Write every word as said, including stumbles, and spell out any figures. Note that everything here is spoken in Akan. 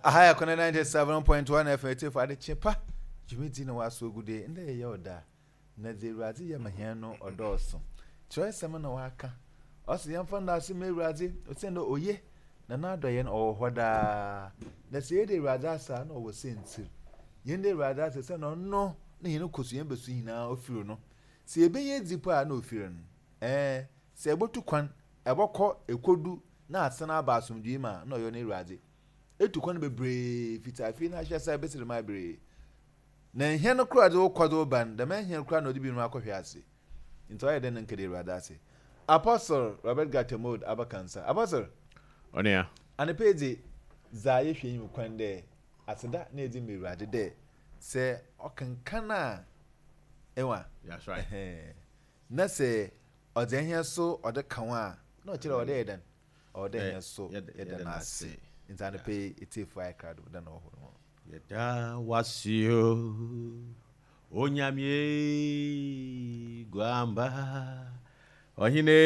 Aha yɛ Kɔnɛ ninety-seven point one F M. Etiefo, adekye pa dwumadi na waso ogu de ndɛ yɛyɛ ɔda na dze Awurade yɛ ma hɛn no ɔdɔɔso. Kyerɛsɛm na waka, ɔsɛ yɛmfa ndaase ma Awurade osiane dɛ oye na n'adɔyɛ no ɔwɔ hɔ daa. Na sɛ yɛde Awurade ase a, na ɔwɔ sɛntsir yɛn de Awurade ase sɛ na ɔno na yɛn kɔ so yɛn bɛso nyinaa ofiri no. Sɛ yɛbɛnya edzi po a, na ofiri no. ɛɛ sɛ ɛbɛtu kwan ɛbɔkɔ ekodu na asene aba asomdwee mu a, na ɔyɛ no Awurade. Etu kwan bebree fiti afei na ahyɛ sɛ ebesiri mu bebree na nhɛn no koraa de wokɔ de wo ba no dɛm nhɛn koraa na ɔde bi no akɔhwɛ ase. Nti ɔyɛ dɛ ne nkɛde Awurade ase. Apostle Robert Gatemod abakansa, Apostle. Ɔnea. Anapa yi dze, dza yɛhwɛ enyim kwan dɛ aseda na edzi ma Awurade dɛ sɛ ɔkenkan a ɛwa. That's right. Ɛhɛn. Na sɛ ɔdze ɛhɛn so ɔde ka ho a, na ɔkyerɛ ɔdɛ yɛ dɛn, ɔwɔ dɛ ɛhɛn so yɛda- yɛda yɛda no ase. n'ase. Nti anapa yi, etiefo ayɛ krado dɛ na ɔwɔ hɔ no. Yɛda wase o, Onyame guamba ɔhene.